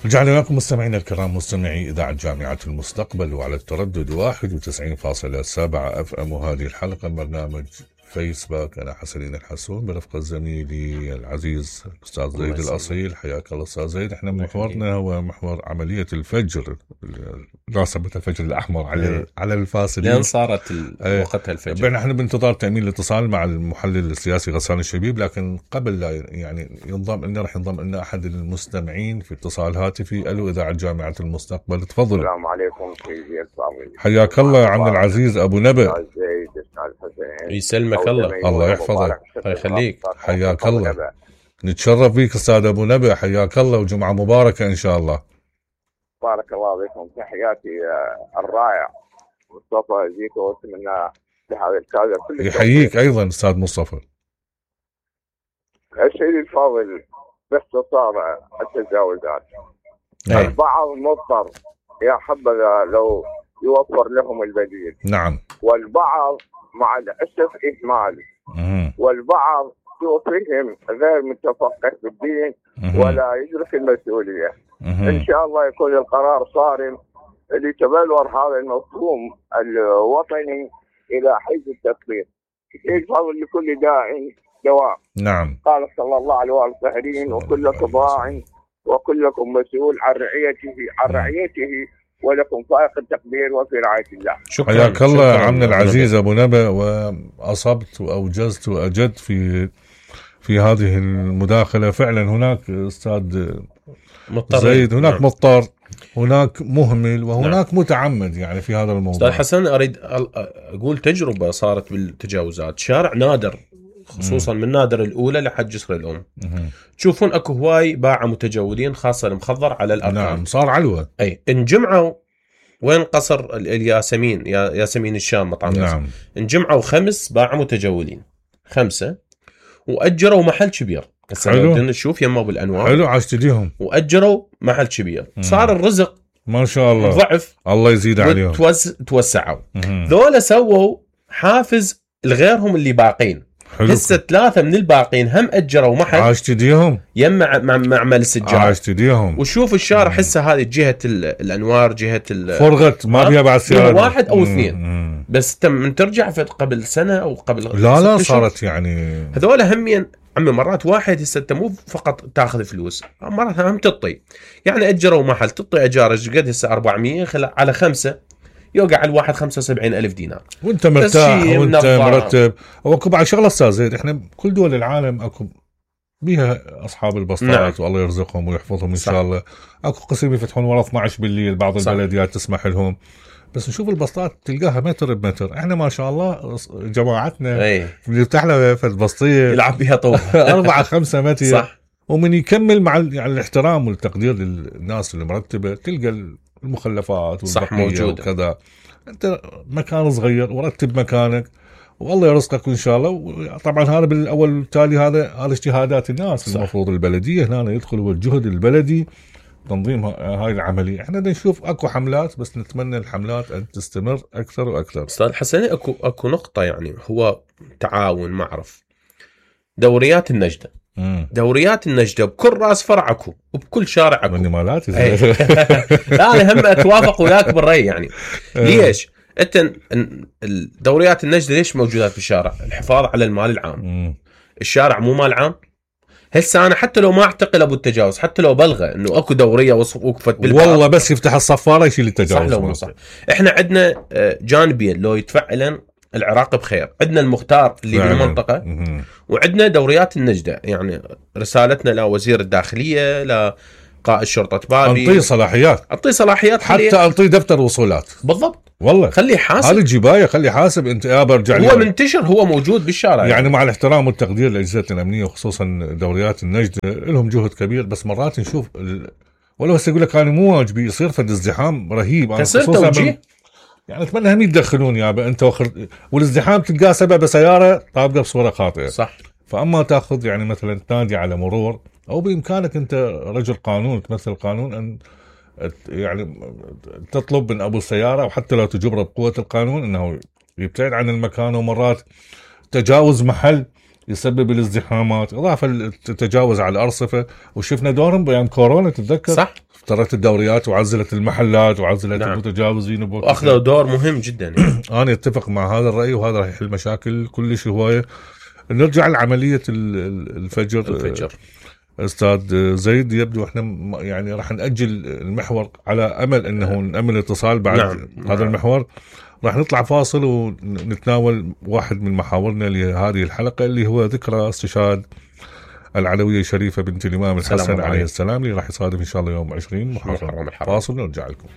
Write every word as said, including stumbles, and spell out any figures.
رجعنا لكم مستمعينا الكرام، مستمعي إذاعة جامعة المستقبل، وعلى التردد واحد وتسعين فاصلة سبعة اف ام. وهذه الحلقة من برنامج فيسباك. أنا حسنين الحسون برفقة زميلي العزيز الأستاذ زيد الأصيل. حياك الله أستاذ زيد. احنا محورنا هو محور عملية الفجر، ناصبة الفجر الأحمر على على الفاصلين، لأن صارت وقتها الفجر. احنا بانتظار تأمين الاتصال مع المحلل السياسي غسان الشبيب، لكن قبل لا يعني ينضم لنا راح ينضم لنا أحد المستمعين في اتصال هاتفي. ألو إذاعة جامعة المستقبل، تفضل. السلام عليكم سيدي الفاضل. حياك الله عم العزيز أبو نبأ. يسلمك الله. الله يحفظك. الله يخليك. حياك الله. نتشرف بك أستاذ أبو نبأ، حياك الله وجمعة مباركة إن شاء الله. بارك الله بكم. تحياتي الرائع مصطفى زيكو، واتمنى لهذا الكادر كل يحييك أيضا أستاذ مصطفى. سيدي الفاضل، باختصار التجاوزات البعض مضطر، يا حبذا لو يوفر لهم البديل. نعم. والبعض مع الأسف إهمال، مم. والبعض فهم غير متفقه بالدين مم. ولا يدرك المسؤولية. مم. إن شاء الله يكون القرار صارم لتبلور هذا المفهوم الوطني إلى حيز التطبيق. الفضل لكل داع دواء. نعم. قال صلى الله عليه وسلم: وكلكم راع وكلكم مسؤول عن رعيته عن رعيته ولكم فائق التقدير وفي رعاية الله. شكرا. حياك الله عمنا العزيز أبو نبأ، وأصبت وأوجزت وأجدت في في هذه المداخلة. فعلا هناك أستاذ زيد، هناك نعم. مضطر، هناك مهمل، وهناك نعم. متعمد يعني في هذا الموضوع. أستاذ حسن، أريد أقول تجربة صارت بالتجاوزات. شارع نادر، خصوصا من نادر الأولى لحد جسر الأم، مم. تشوفون أكو هواي باعة متجولين، خاصة المخضر على الأرقام. نعم، صار علوة. أي انجمعوا وين قصر الياسمين، يا ياسمين الشام مطعم. نعم. انجمعوا خمس باعة متجولين، خمسة، وأجروا محل كبير. هسه بدنا نشوف يما أبو الأنوار. حلو، عاشتديهم. وأجروا محل كبير. مم. صار الرزق ما شاء الله ضعف، الله يزيد عليهم. توز... توسعوا. ذولا سووا حافز لغيرهم اللي باقين. هسه ثلاثة من الباقين هم أجروا محل، عاشتديهم يم مع معمل السجاد. عاشتديهم. وشوف الشارع هسه هذه جهة الأنوار، جهة فرغت، ما بيها بعد سيارة واحد أو اثنين. مم. بس تم من ترجع قبل سنة أو قبل لا لا صارت يعني هذولا همين. عمي مرات واحد هسه انت مو فقط تاخذ فلوس، مرات هم تطي. يعني اجروا محل، تطي اجار قد هسه أربعمية على خمسة، يوقع على الواحد خمسة وسبعين ألف دينار، وانت مرتاح وانت مرتب. واكو بعد شغله استاذ زيد، احنا كل دول العالم اكو بيها اصحاب البسطات. نعم. والله يرزقهم ويحفظهم ان صح. شاء الله. اكو قسم يفتحون ورا اثني عشر بالليل، بعض صح. البلديات تسمح لهم، بس نشوف البسطات تلقاها متر بمتر. احنا ما شاء الله جماعتنا اللي يفتح له في البسطيه يلعب بها طول أربعة خمسة متر صح. ومن يكمل مع يعني الاحترام والتقدير للناس اللي مرتبه، تلقى المخلفات والبقيه وكذا. انت مكان صغير ورتب مكانك والله يرزقك ان شاء الله. وطبعا هذا بالاول والتالي هذا هذا اجتهادات الناس. صح. المفروض البلديه هنا يدخل والجهد البلدي تنظيم هاي العمليه. احنا نشوف اكو حملات، بس نتمنى الحملات ان تستمر اكثر واكثر. استاذ حسن، اكو اكو نقطه يعني هو تعاون معرف. دوريات النجده، مم. دوريات النجده بكل راس فرع اكو، وبكل شارع اكو. مني مالاتي لا انا هم اتوافق وياك بالراي يعني. ليش انت الدوريات النجده ليش موجودات في الشارع؟ الحفاظ على المال العام. مم. الشارع مو مال عام. هسه انا حتى لو ما اعتقل ابو التجاوز، حتى لو بلغى انه اكو دوريه وقفت بالباب، والله بس يفتح الصفاره يشيل التجاوز. صح لو مو صح. احنا عندنا جانبين لو يتفعلا العراق بخير. عندنا المختار اللي يعني بالمنطقه، مم. وعندنا دوريات النجده. يعني رسالتنا لوزير الداخليه، لقائد شرطه بابي، انطي صلاحيات، انطي صلاحيات، حتى انطي دفتر وصولات. بالضبط والله خليه يحاسب. هذه الجبايه خليه يحاسب. انت يا برجع هو منتشر، هو موجود بالشارع يعني, يعني مع الاحترام والتقدير لاجهزتنا الامنيه وخصوصا دوريات النجده، لهم جهد كبير. بس مرات نشوف ال... ولو هسه يقول لك انا مو واجبي، يصير فد ازدحام رهيب. انا خصوصا بال... يعني اتمنى هم يتدخلون يابا انت وخر... والازدحام تلقاه سبب سياره طابقه بصوره خاطئه. صح. فاما تاخذ يعني مثلا تنادي على مرور، او بامكانك انت رجل قانون تمثل القانون ان يعني تطلب من ابو السياره، وحتى لو تجبره بقوه القانون انه يبتعد عن المكان. ومرات تجاوز محل يسبب الازدحامات، اضافه التجاوز على الارصفه، وشفنا دورهم بايام كورونا تتذكر. صح، افترت الدوريات وعزلت المحلات وعزلت نعم. المتجاوزين واخذوا دور مهم جدا يعني. انا اتفق مع هذا الراي، وهذا راح يحل مشاكل كلش هوايه. نرجع لعمليه الفجر. الفجر استاذ زيد، يبدو احنا يعني راح ناجل المحور على امل انه نامل اتصال بعد نعم. هذا نعم. المحور راح نطلع فاصل ونتناول واحد من محاورنا لهذه الحلقه اللي هو ذكرى استشهاد العلويه الشريفه بنت الامام الحسن عليه السلام، اللي راح يصادف ان شاء الله يوم عشرين محرم. فاصل ونرجع لكم.